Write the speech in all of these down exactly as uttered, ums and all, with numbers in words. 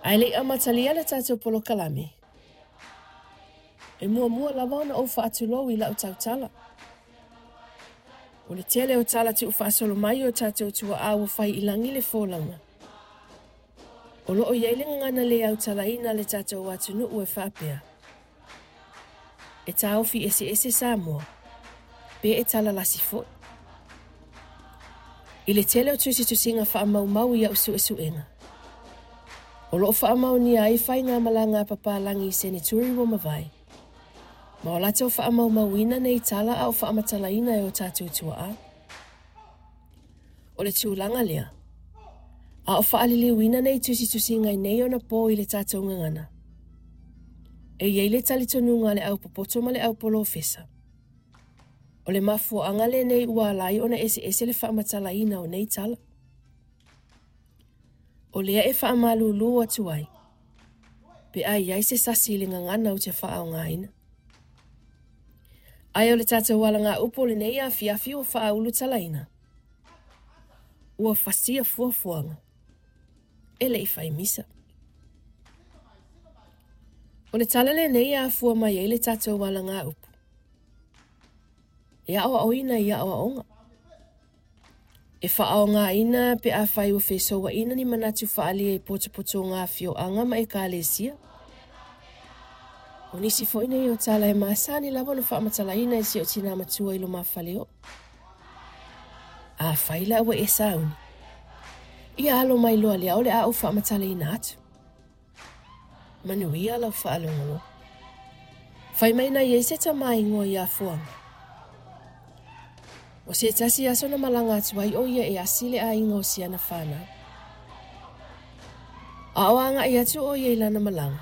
Ae le i amatalia le tatou polokalame, e muamua lava ona ou faatulou i lau tautala. O le tele o tala tuufaasolo mai o tatou tuaa ua fai i lagi le folauga. O loo i ai le gagana le autalaina le tatou atunuu e faapea, e taofi eseese Samoa, pe e talalasi foi. I le tele o tusitusiga faamaumau i au suesuega, o loo faamaonia ai faigamalaga a papalagi i seneturi ua mavae, ma o latou faamaumauina nei tala a o faamatalaina e o tatou tuaa. O le tulaga lea, a o faaliliuina nei tusitusiga i nei ona po i le tatou gagana, e i ai le talitonuga a le aupopoto ma le aupolofesa, o le mafuaaga lenei ua ala ai ona eseese le faamatalaina o nei tala. O lea e faamalulu atu ai, pe a i ai se sasi i le gagana ou te faaaogaina. Ae o le tatou alagaupu o lenei afiafi ua faaulutalaina, ua fasia fuafuaga, e le i fai misa. O le tala lenei e afua mai ai le tatou alagaupu, e aoaoina i aoaoga, e faaaogaina pe afai ua fesouaina ni manatu faaalia i potopotoga afioaga ma ekalesia. O nisi foi nei o tala e masani lava ona faamatalaina e si ou tina matua i lumafale. Afai la ua e sauni, ia alo mai loa lea o le a ou faamatalaina atu. Manuia lau faalogologo. Fai mai na i ai se tama igoa ia Fuaga. O se tasi aso na malaga atu ai o ia e asi le aiga o siana fanau. A o agai atu o ia i lana malaga,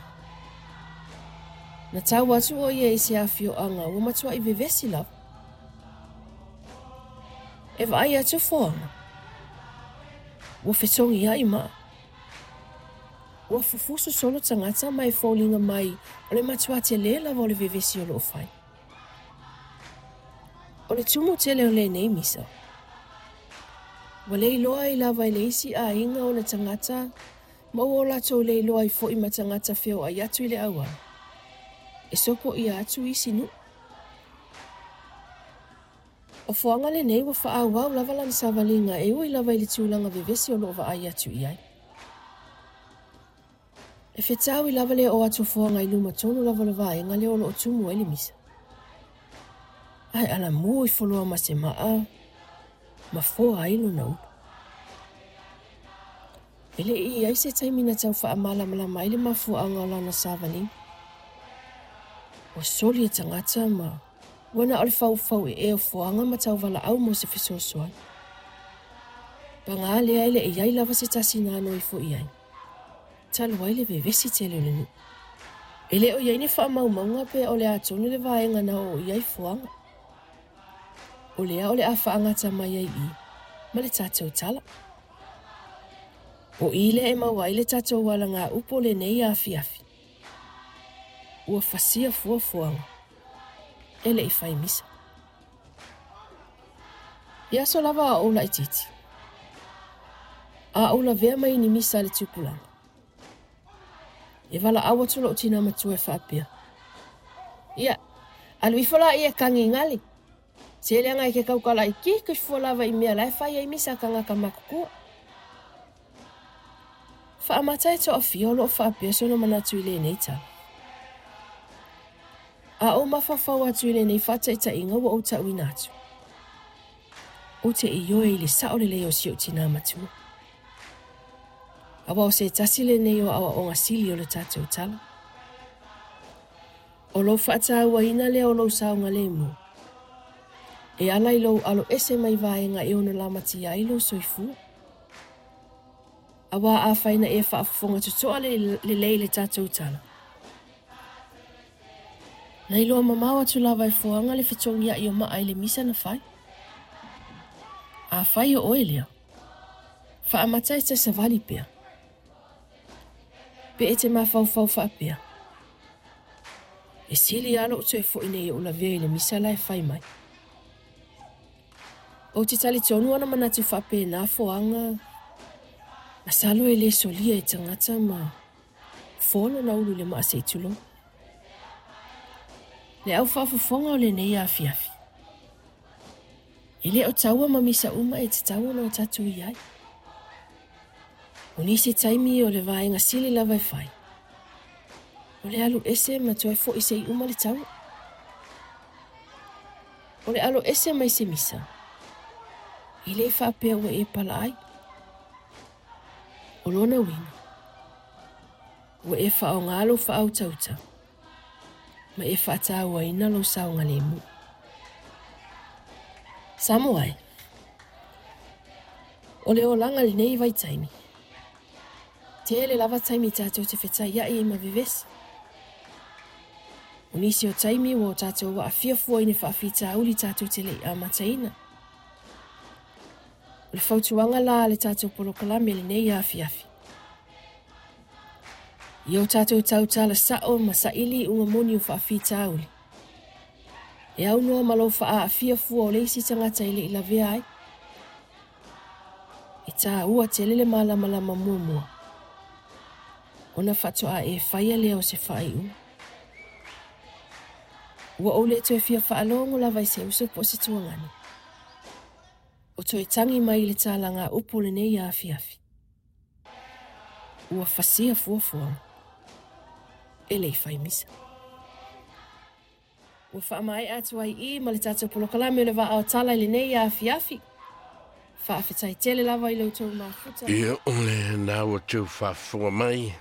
na tau atu o ia i se afioaga ua matuai vevesi lava. E vaai atu Fuaga, ua fetogiai maa, ua fufuso solo tagata ma e foliga mai o le matua tele lava o le vevesi o loo fai. O le tumu tele o lenei misa, ua le iloa ai lava i le isi aiga ona tagata ma ua o latou le iloa ai foi ma tagata feoai atu i le auala, e sopoia atu isi nuu. O Fuaga lenei ua faaauau lava lana savaliga e ui lava i le tulaga vevesi o loo vaai atu i ai. E fetaui lava le oo atu o Fuaga i luma tonu lava o le vaega lea o loo tumu ai le misa. Ae alamu ifo loa ma se maa, ma foa ai lona ulu. E le i ai se taimi na tau faamalamalama ai le mafuaaga o lana savaliga. Ua soli e tagata ma ua na o le faufau ee o Fuaga ma tauvalaau mo se fesoasoani. Paga lea e le i ai lava se tasi na ano ifo i ai, talu ai le vevesi tele o le nuu. E le o i ai ni faamaumauga pe o le a tonu le vaega na oo i ai Fuaga. O lea o le a faagata mai ai i ma le tatou tala. O i lea e maua ai le tatou alagaupu o lenei afiafi, ua fasia fuafuaga, e le i fai misa. I aso lava a ou laitiiti, a ou lavea mai ni misa a le tupulaga, e valaau atu lou tina matua e faapea, ia, alu ifo laia e kagigali, se leaga e ke kaukala i ki ifo lava i mea la e fai ai misa a tagata matutua. Faamata e toafia o loo faapea sona manatu i lenei tala. A ou mafaufau atu i lenei faataitaiga ua ou tauina atu, ou te ioe i le sao lelei o si ou tina matua. Aua o se tasi lenei o aoaoga sili o le tatou tala. O lou faatauaina lea o lou saogalemu, e ala i lou alo ese mai vaega e ono lamatia ai lou soifua. Aua afai na e faafofoga totoa lelei le tatou tala, na iloa mamao atu lava e Fuaga le fetogiai o maa i le misa na fai. Afai o oe lea, faamata e te savali pea, pe e te mafaufau faapea, e sili lava lou toe foi nei ou lavea i le misa la e fai mai. Ou te talitonu ona manatu faapena Fuaga, masalo e le solia e tagata ma Fō lona ulu i le maa seʻi tulou. Le au faafofoga o lenei afiafi. E lē o taua ma misa uma e tatau ona o tatou i ai. O nisi taimi o le vaega sili lava e fai. O le alu ese ma toe foʻi seʻi uma le taua. O le alo ese mai se misa. E lē faapea ua e pala ai. O lona uiga. Ua e faaaogā lou faautauta. Ma e faatauaina lou saogalemu. Samoa e. O le olaga lenei vaitaimi. Tele lava taimi tatou te fetaiaʻi ai ma vevesi. O nisi o taimi ua o tatou aafia fua i ni faafitauli tatou te leʻi amataina. O le fautuaga la a le tatou polokalame lenei afiafi. Ia o tatou tautala saʻo ma saʻili iuga moni o faafitauli. E aunoa ma lou faaaafia fua o le isi tagata e leʻi lavea ai. E tāua tele le malamalama muamua. Ona faatoa e faia lea o se faaiuga. Ua ou le toe fia faalogo lava i se uso po o se tuagane. O toe tagi mai i le talaga upu lenei afiafi. Ua fasia fuafuaga. E leʻi fai misa. Ua faamaea atu ai i ma le tatou polokalame o le Vaa o Tala i lenei afiafi. Faafetai tele lava i lo outou mafuta. Ia o lena ua outou faafofoga mai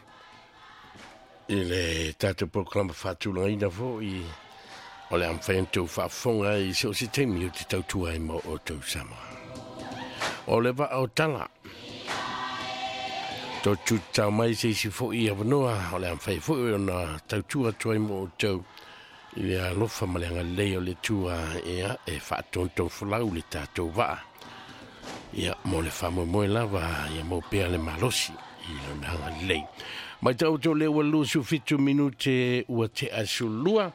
i le tatou polokalame faatulagaina foʻi o le a mafai ona outou faafofoga ai i so o se taimi o te tautua ai ma outou Samoa. O le Vaa o Tala. Tou tutau mai se isi foʻi avanoa o le a mafai foʻi ona tautua atu ai ma outou i le alofa ma le agalelei o le Atua ia e faatotofolau le tatou vaa. Ia mo le faamoemoe lava ia mau pea le malosi i lona agalelei. Mai tau outou lea ua luasefulu fitu minute ua tea sulua.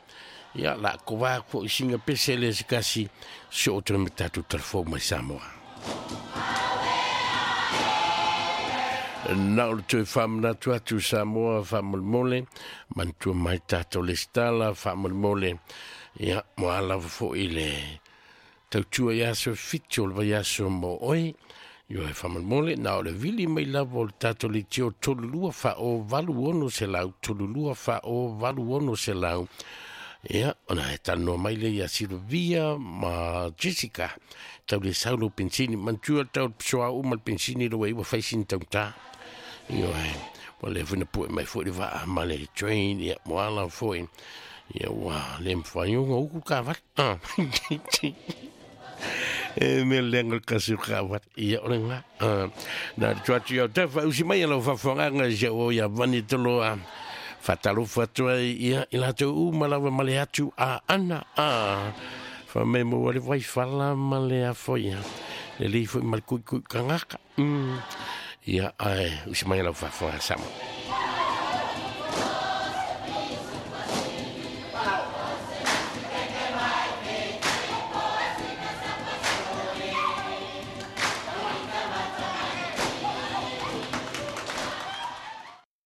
Ia la kovā foʻi singa pese le se kasi so o toe ma tatou talafou mai Samoa. Na o le toe faamanatu atu Samoa faamolemole, manatua mai tatou lesitala faamolemole, ia mo a lava foʻi le tautua i aso fitu o le vaiaso mo oe. Ioe faamolemole, na o le vili mai lava o le tatou leitio tolu lua faa-o valu ono selau, tolu lua faa-o valu ono selau. Ia, ona e talanoa mai lea ia Silvia ma Jessica. Tau le sau lou pensini, manatua tau le pisoa uma le pensini lo e ua fai sina taugata. Ioe, ua leva foi na pue mai foʻi le vaa ma le train, ia mo ala foʻi. Ia ua le mafai ona uku kavali. Ah. E mea leaga le kasi o kavali. Ia o le gā. Ah. Na le tua atu i au tau faausi mai a lau faafofogaga i si au o ia Vani Toloa. Faatalofa atu ai ia i latou uma lava ma le atu a ana. Ah. Faamai maua le vaifala ma le afoia. Lelei foʻi ma le kuikui kagaka. Mm. Ia ae usi mai a lau faafofoga Samoa.